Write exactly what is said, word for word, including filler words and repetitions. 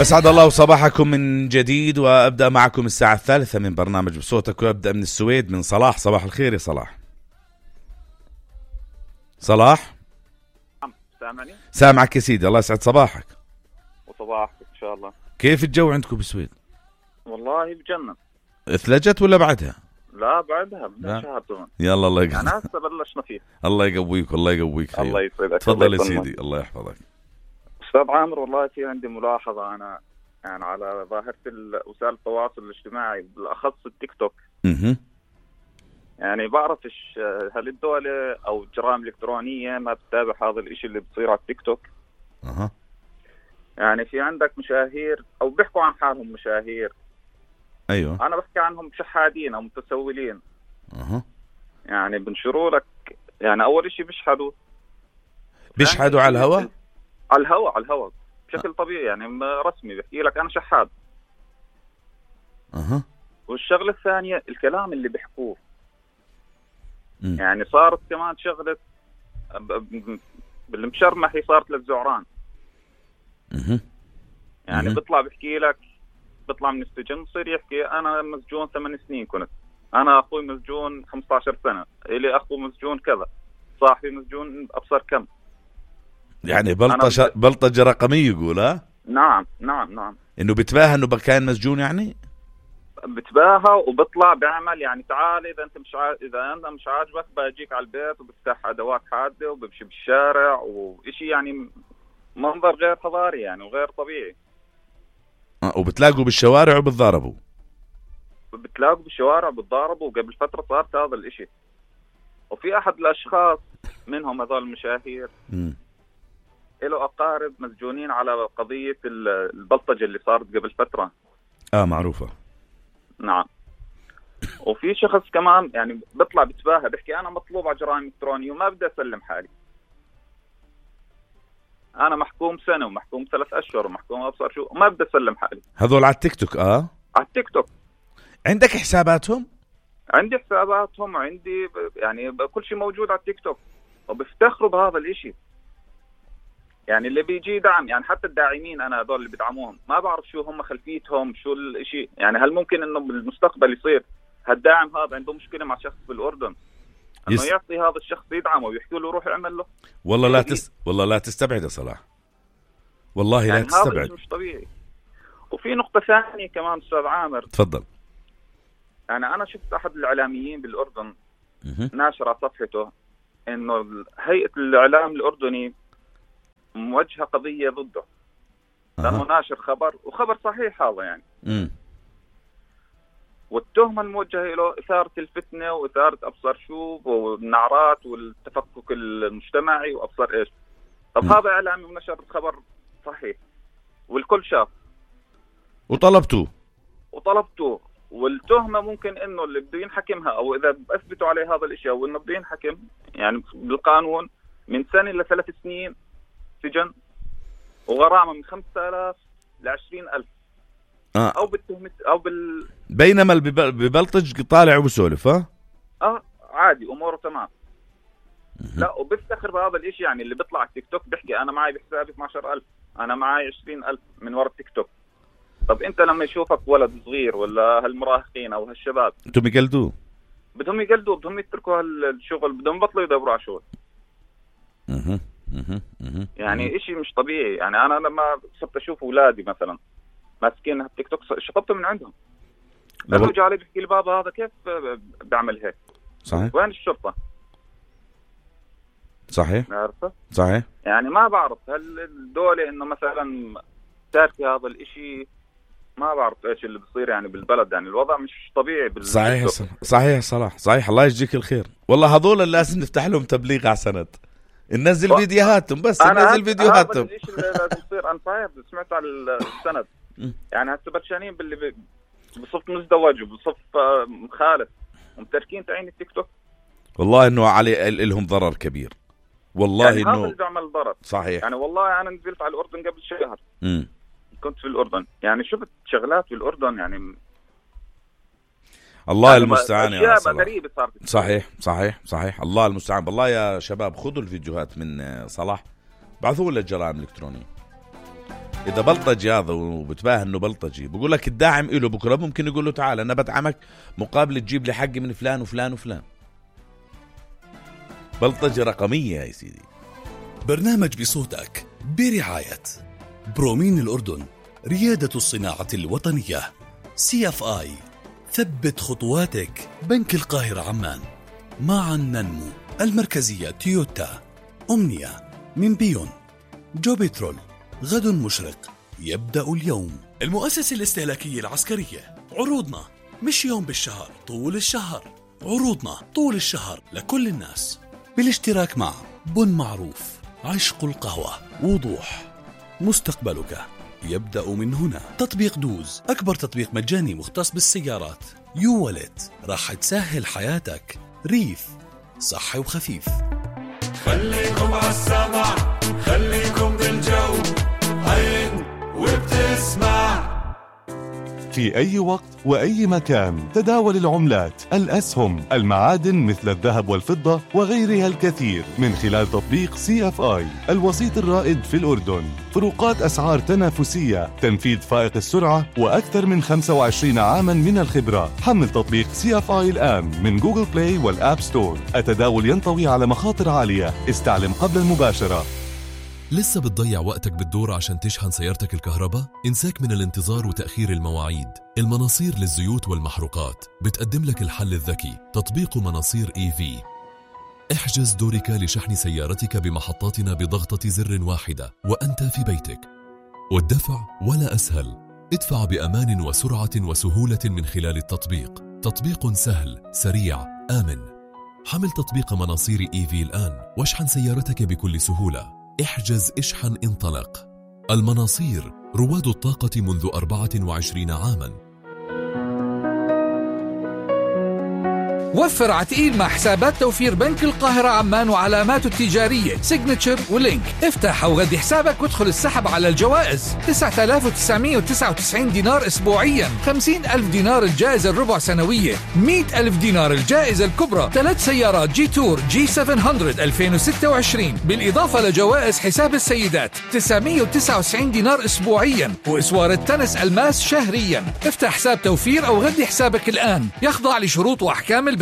أسعد الله صباحكم من جديد، وأبدأ معكم الساعة الثالثة من برنامج بصوتك، وأبدأ من السويد من صلاح. صباح الخير يا صلاح. صلاح سامعني؟ سامعك يا سيدي، الله يسعد صباحك. وصباحك إن شاء الله. كيف الجو عندكم بالسويد؟ والله بجنن. اثلجت ولا بعدها؟ لا بعدها بدنا شهر كمان. يلا الله يقويك. أنا هسه بلشنا فيه. الله يقويك والله يقويك. خير. الله يسعدك. تفضل يا سيدي، الله يحفظك. أستاذ عامر، والله في عندي ملاحظة أنا يعني على ظاهرة وسائل التواصل الاجتماعي، بالأخص التيك توك. اها يعني بعرفش هل الدولة أو الجرائم الإلكترونية ما بتتابع هذا الإشي اللي بصير على التيك توك؟ اها يعني في عندك مشاهير أو بيحكوا عن حالهم مشاهير. ايوه أنا بحكي عنهم شحادين أو متسولين. اها يعني بنشروا لك، يعني أول إشي بيشحدوا بيشحدوا على الهواء على الهواء على الهواء بشكل طبيعي، يعني رسمي بحكي لك أنا شحاد. اها والشغلة الثانية الكلام اللي بيحكوه. م. يعني صارت كمان شغلة بالمشرمح، هي صارت للزعران. اها يعني مم. بيطلع بحكي لك، بيطلع من السجن بصير يحكي أنا مسجون ثمان سنين كنت، أنا أخوي مسجون خمسة عشر سنة، إلي أخو مسجون كذا، صاحبي مسجون أبصر كم. يعني بلطجة بلطجة رقمية يقول. ها نعم نعم نعم انه بتباهى انه كان مسجون، يعني بتباهى وبطلع بيعمل يعني تعال اذا انت مش ع... اذا انت مش عاجبك بجيك على البيت وبفتح ادوات حاده وبمشي بالشارع، وإشي يعني منظر غير حضاري يعني وغير طبيعي. أه وبتلاقوا بالشوارع وبتضاربوا. بتلاقوا بالشوارع وبتضاربوا، وقبل فتره صارت هذا الإشي. وفي احد الاشخاص منهم هذول المشاهير م. له اقارب مسجونين على قضيه البلطجه اللي صارت قبل فتره. اه معروفه. نعم. وفي شخص كمان يعني بيطلع بتباهى بحكي أنا مطلوب على جرائم إلكترونية وما بدي أسلم حالي، أنا محكوم سنة ومحكوم ثلاث أشهر ومحكوم أبصر شو، وما بدي أسلم حالي. هذول على التيك توك. اه على التيك توك. عندك حساباتهم؟ عندي حساباتهم وعندي يعني كل شيء موجود على التيك توك، وبيفتخروا بهذا الإشي. يعني اللي بيجي دعم، يعني حتى الداعمين أنا هذول اللي بدعموهم ما بعرف شو هم خلفيتهم، شو الإشي. يعني هل ممكن إنه بالمستقبل يصير هالداعم هذا عنده مشكلة مع شخص بالأردن إنه يس... يعطي هذا الشخص يدعمه ويحكي له روح يعمل له؟ والله لا تس... والله لا تستبعد يا صلاح، والله يعني لا تستبعد. هذا مش طبيعي. وفي نقطة ثانية كمان أستاذ عامر. تفضل. يعني أنا شفت أحد الإعلاميين بالأردن م- ناشر على صفحته إنه هيئة الإعلام الأردني موجهة قضية ضده لأنه ناشر خبر، وخبر صحيح هذا يعني. م. والتهمة الموجهة له إثارة الفتنة وإثارة أبصر شو والنعرات والتفكك المجتمعي وأبصر إيش. طب م. هذا إعلامي ونشر خبر صحيح والكل شاف وطلبته وطلبته والتهمة ممكن إنه اللي بده ينحكمها أو إذا أثبتوا عليه هذا الإشي أو إنه بده ينحكم يعني بالقانون من سنة لثلاث سنين سجن وغرامة من خمسة آلاف لعشرين ألف. آه. أو بالتهمة أو بال بينما اللي ببلطج طالع وبسولف. ها آه عادي أموره تمام. لا وبفتخر بهذا الإشي. يعني اللي بيطلع على التيك توك بيحكي أنا معي بحسابي اثني عشر ألف، أنا معي عشرين ألف من وراء التيك توك. طب أنت لما يشوفك ولد صغير ولا هالمراهقين أو هالشباب انتم يقلدوه، بدهم يقلدوا، بدهم يتركوا هالشغل، بدهم يبطلوا يدوروا على شغل. اها اها اها يعني إشي مش طبيعي. يعني أنا لما صرت أشوف أولادي مثلا ماسكين التيك توك شطبته من عندهم. لما جاء علي بيحكي لي بابا هذا كيف بعمل هيك؟ صحيح. وين الشرطة؟ صحيح. عارفة؟ صحيح. يعني ما بعرف هل الدولة إنه مثلا تاركي هذا الإشي، ما بعرف إيش اللي بصير يعني بالبلد. يعني الوضع مش طبيعي بال... صحيح صحيح صلاح صحيح. الله يجزيك الخير. والله هذول لازم نفتح لهم تبليغ على سند، ننزل و... فيديوهاتهم بس ننزل فيديوهاتهم. هذا الشيء اللي لازم يصير. أنا صحيح سمعت على السند يعني هسه برشانين باللي بصف مزدوج وبصف مخالف ومتركين تعين التيك توك. والله إنه علي لهم ضرر كبير. والله يعني إنه هذا اللي بيعمل ضرر. صحيح. يعني والله أنا نزلت على الأردن قبل شهر. م. كنت في الأردن يعني شفت شغلات في الأردن يعني الله يعني المستعان يا صلاح. صحيح صحيح صحيح. الله المستعان. بالله يا شباب خذوا الفيديوهات من صلاح بعثوا له الجرائم الإلكترونية. إذا بلطجي هذا وبتباهى إنه بلطجي بقول لك الداعم إله بكرة ممكن يقول له تعال أنا بدعمك مقابل تجيب لي حقي من فلان وفلان وفلان. بلطجة رقمية يا سيدي. برنامج بصوتك برعاية برومين الأردن، ريادة الصناعة الوطنية، سي اف آي، ثبت خطواتك، بنك القاهرة عمان، معا ننمو، المركزية تويوتا، أمنية، من بيون، جو بترول، غد مشرق، يبدأ اليوم، المؤسسة الاستهلاكية العسكرية. عروضنا مش يوم بالشهر، طول الشهر. عروضنا طول الشهر لكل الناس، بالاشتراك مع بن معروف، عشق القهوة، وضوح، مستقبلك يبدأ من هنا. تطبيق دوز، أكبر تطبيق مجاني مختص بالسيارات. يو والت، راح تسهل حياتك. ريف، صحي وخفيف. خليكم عالسمع، خليكم بالجو، عين وبتسمع. في أي وقت وأي مكان تداول العملات، الأسهم، المعادن مثل الذهب والفضة وغيرها الكثير من خلال تطبيق سي اف آي، الوسيط الرائد في الأردن. فروقات أسعار تنافسية، تنفيذ فائق السرعة، وأكثر من خمسة وعشرين عاما من الخبرة. حمل تطبيق سي اف آي الآن من جوجل بلاي والآب ستور. التداول ينطوي على مخاطر عالية، استعلم قبل المباشرة. لسه بتضيع وقتك بالدور عشان تشحن سيارتك الكهرباء؟ انساك من الانتظار وتأخير المواعيد. المناصير للزيوت والمحروقات بتقدم لك الحل الذكي، تطبيق مناصير إي في. احجز دورك لشحن سيارتك بمحطاتنا بضغطة زر واحدة وأنت في بيتك. والدفع ولا أسهل، ادفع بأمان وسرعة وسهولة من خلال التطبيق. تطبيق سهل، سريع، آمن. حمل تطبيق مناصير إي في الآن واشحن سيارتك بكل سهولة. احجز، اشحن، انطلق. المناصير، رواد الطاقة منذ أربعة وعشرين عاما. وفر عتقيل مع حسابات توفير بنك القاهرة عمان وعلاماته التجارية سيجنتشر ولينك. افتح أو غدي حسابك وادخل السحب على الجوائز. تسعة آلاف وتسعمائة وتسعة وتسعين دينار أسبوعيا، خمسين ألف دينار الجائزة الربع سنوية، مئة ألف دينار الجائزة الكبرى، ثلاث سيارات جي تور جي سبعمائة ألفين وستة وعشرين، بالإضافة لجوائز حساب السيدات تسعمائة وتسعة وتسعين دينار أسبوعيا، وإسوار التنس الماس شهريا. افتح حساب توفير أو غدي حسابك الآن، يخضع لشروط وأحكام البنك.